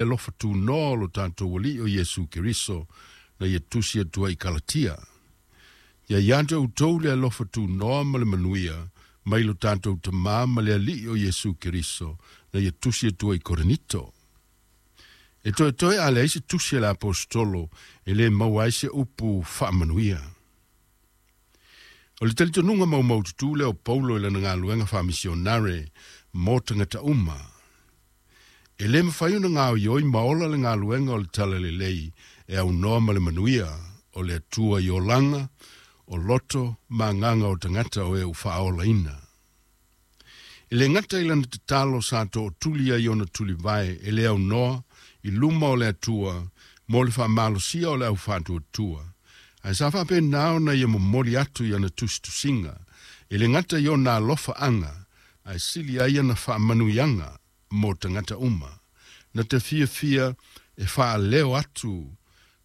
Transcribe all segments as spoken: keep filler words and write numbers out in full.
Alofa tunoa o lo tatou Alii o Iesu Keriso na ia tusi atu ai i Kalatia. Ia ia te outou le alofa tunoa ma le manuia mai lo tatou Tamā ma le Alii o Iesu Keriso na ia tusi atu ai i Korinito. E toetoe a leai se tusi a le Aposetolo e lē maua ai se upu faamanuia. O le talitonuga maumaututu lea o Paulo i lana galuega faamisionare mo tagata uma. E lē mafai ona gaoioi ma ola le galuega o le Talalelei e aunoa ma le manuia o le Atua i olaga, o loto ma agaga o tagata o e ua faaolaina. E lē gata i lana tatalo sa tootuli ai ona tulivae e le aunoa i luma o le Atua mo le faamalosia o le aufaatuatua, ae sa faapena ona ia momoli atu i ana tusitusiga e lē gata i ona alofaaga ae sili ai ana faamanuiaga mo tagata uma na te fiafia e faaleo atu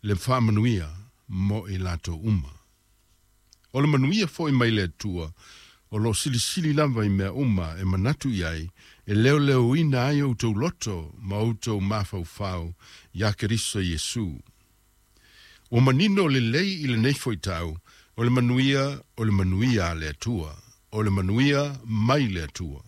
le faamanuia mo i latou uma. O le manuia foi mai le Atua o loo silisili lava i mea uma e manatu i ai e leoleoina ai outou loto ma outou mafaufau iā Keriso Iesu. Ua manino lelei i lenei fuaitau o le manuia o le manuia a le Atua, o le manuia mai le Atua.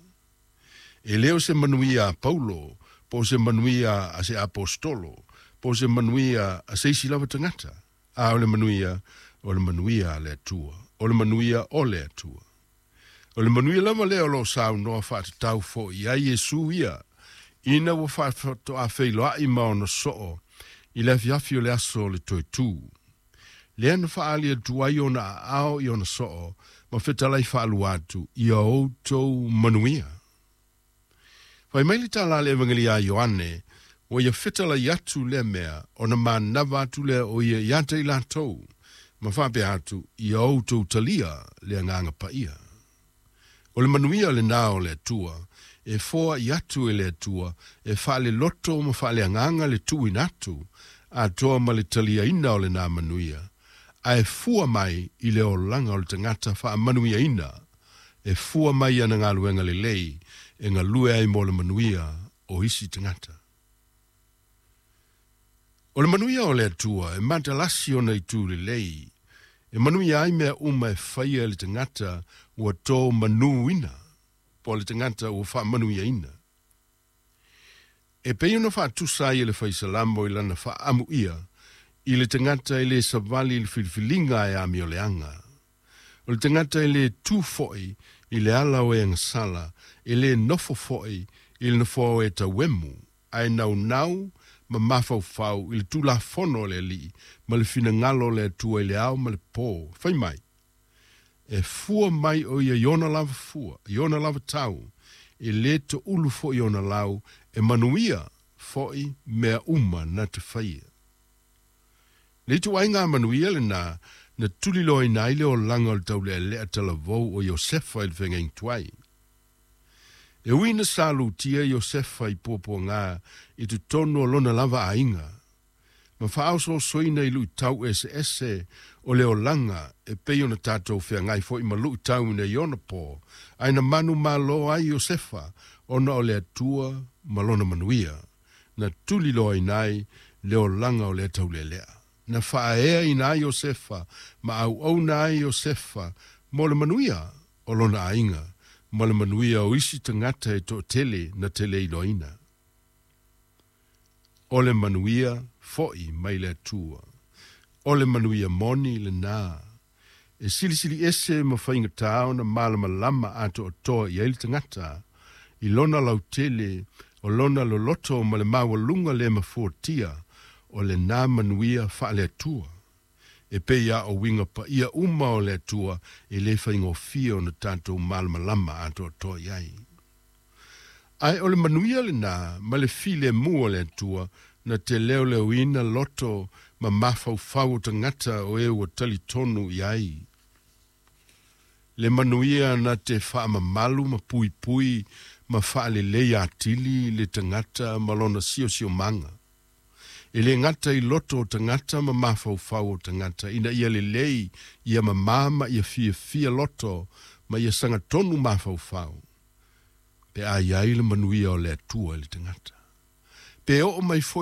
E lē o se manuia a Paulo po o se manuia a se Aposetolo po o se manuia a se isi lava tagata, a o le manuia o le manuia a le Atua, o le manuia o le Atua. O le manuia lava lea o loo saunoa faatatau fo'i ai Iesu ia ina ua faatoafeiloai ma ona soo i le afiafi o le aso o le Toetū. Lea na faaali atu ai ona aao i ona soo ma fetalai faalua atu ia outou manuia. Fai mai le tala a le Evagelia a Ioane, ua ia fetalai atu lea mea ona manava atu lea o ia iā te i latou, ma faapea atu ia outou talia le Agaga Paia. O le manuia lenā o le Atua, e foai atu e le Atua e faaleloto ma faaleagaga le tuuina atu atoa ma le taliaina o lenā manuia, ae fua mai i le olaga o le tagata faamanuiaina, e fua mai i ana galuega lelei e galue ai mo le manuia o isi tagata. O le manuia o le Atua e matalasi ona itu lelei, e manuia ai mea uma e faia e le tagata ua to manuina, po o le tagata ua faamanuiaina. E pei ona faatusa ai e le Faisalamo i lana faaamuia i le tagata e lē savali i le filifiliga e amioleaga. O le tagata e lē tu fo'i i le ala o e agasala, e lē nofo fo'i i le nofoa o e tauemu, ae naunau ma mafaufau i le tulafono a le Alii ma le finagalo o le Atua i le ao ma le po. Fai mai, e fua mai o ia i ona lava fua, i ona lava tau, e lē toulu fo'i ona lau, e manuia fo'i mea uma na te faia. Le ituaiga manuia lenā na tuliloaina ai le olaga o le taulealea talavou o Iosefa i le feagaiga tuai. E ui ina sa lutia Iosefa i puapuagā i totonu o lona lava aiga, ma faaosoosoina i luitau eseese o le olaga e pei ona tatou feagai foi ma luitau i ona po, ae na manumalo ai Iosefa ona o le Atua ma lona manuia, na tuliloaina ai le olaga o lea taulealea. Na faaeaina ai Iosefa ma auauna ai Iosefa mo le manuia o lona aiga ma le manuia o isi tagata e toatele na te le iloaina. O le manuia fo'i mai le Atua. O le manuia moni lenā. E silisili ese ma faigata ona malamalama atoatoa i ai le tagata i lona lautele o lona loloto ma le maualuga le mafuatia o lenā manuia faale-Atua. E pei lava o uiga paia uma o le Atua e le faigofie ona tatou malamalama atoatoa i ai. Ae o le manuia lenā ma le filemu o le Atua na te leoleoina loto ma mafaufau o tagata o e ua talitonu i ai. Le manuia na te faamamalu ma puipui ma faalelei atili le tagata ma lona siosiomaga. E lē gata i loto o tagata ma mafaufau o tagata ina ia lelei ia mamā ma ia fiafia loto ma ia sagatonu mafaufau. Pe a i ai le manuia o le Atua i le tagata. Pe oo mai foi